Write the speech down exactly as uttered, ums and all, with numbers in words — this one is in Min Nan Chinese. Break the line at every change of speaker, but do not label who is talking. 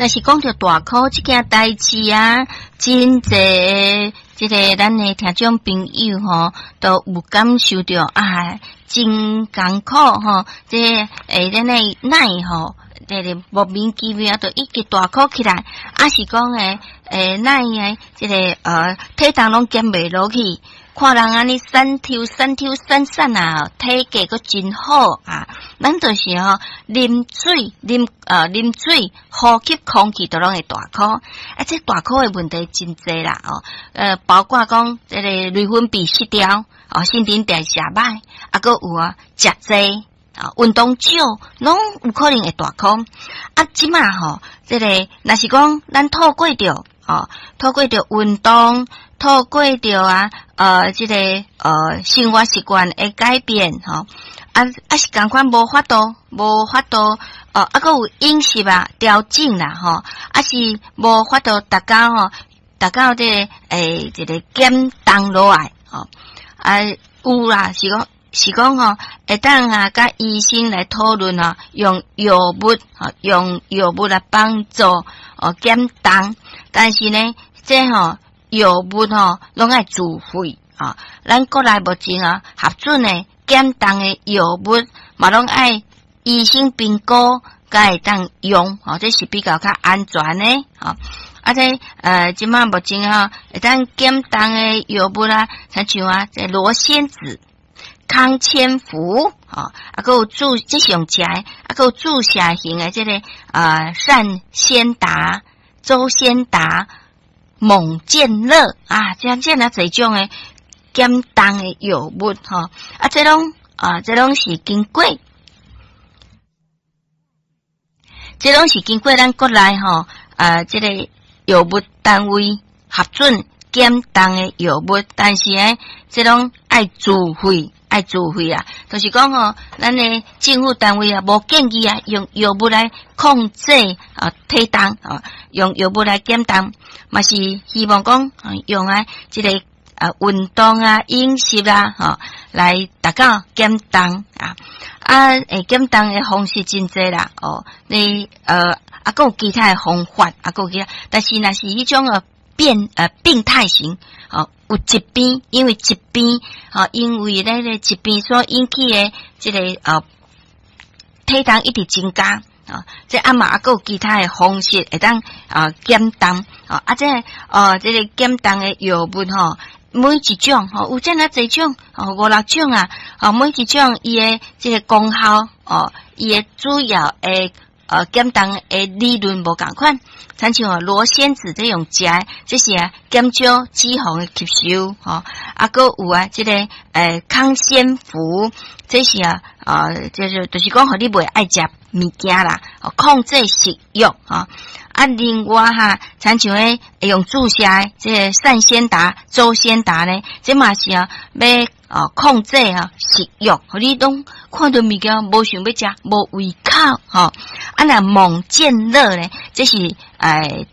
若是講著大箍這件代誌啊，真濟這个咱的聽眾朋友吼，都有感受著啊，真艱苦吼，這會咱的奶吼，這个莫名其妙就一直大箍起來，抑是講的欸奶的這个呃體重攏減袂落去。看人按呢瘦抽瘦抽瘦瘦啊，體格閣真好啊！咱就是吼啉水，啉呃啉水，呼吸空氣都攏會大箍。啊，這大箍的問題真濟啦哦。呃，包括講這個內分泌失調，哦，新陳代謝歹，啊，閣有啊，食濟啊，運動少，攏有可能會大箍。啊，這馬吼，這个若是講咱透過著哦，透過著運動，透過著啊，呃，這个呃生活習慣的改變，吼，啊啊是仝款無法度，無法度，哦，啊，閣有飲食啊調整啦，吼，啊是無法度達到吼，達到這个欸這个減重落來，吼，啊有啦，是講是講吼，會當啊，佮醫生來討論啊，用藥物，吼，用藥物來幫助哦減重，但是呢，這吼藥物吼攏愛自費啊，咱國內目前啊核准的減重的藥物嘛攏愛醫生評估，才會當用，吼，這是比較較安全的，吼。啊，這呃，這馬目前吼會當減重的藥物啊，親像啊，這羅先子、康千福，吼，啊，閣有注這是用食的，啊，閣有注射型的這个呃善先達、周先達、猛健樂啊，這這爾濟種的減重的藥物，吼，啊，這攏啊，這攏是經過，這攏是經過咱國內吼，啊，這个藥物單位核准減重的藥物，但是呢，這攏愛自費，愛自費啊，就是講吼，咱的政府單位啊，無建議啊，用藥物來控制啊體重啊，用藥物來減重，嘛是希望講用啊這個啊運動啊、飲食啊，吼來達到減重啊。啊，會減重的方式真濟啦，哦，你呃啊，閣有其他的方法，啊，閣有其他，但是若是彼種呃變呃病態型，哦，有疾病，因為疾病，吼，因為那个疾病所引起的這个呃體重一直增加，啊，這啊嘛啊閣有其他的方式會當啊減重，啊，這呃這个減重的藥物吼，每一種吼有這爾濟種，哦五六種啊，哦每一種伊的這个功效，哦伊的主要的呃減重的理論無仝款，親像羅先子這用食的，這是啊減少脂肪的吸收，吼，啊閣有啊這个呃康仙福，這是啊呃就是就是講予你袂愛食物件啦，控制食欲，吼。啊，另外哈，親像彼用注射的這个善先達、周先達呢，這嘛是啊，欲哦控制啊食欲，予你攏看著物件無想欲食，無胃口吼。啊，若猛健樂呢，這是欸。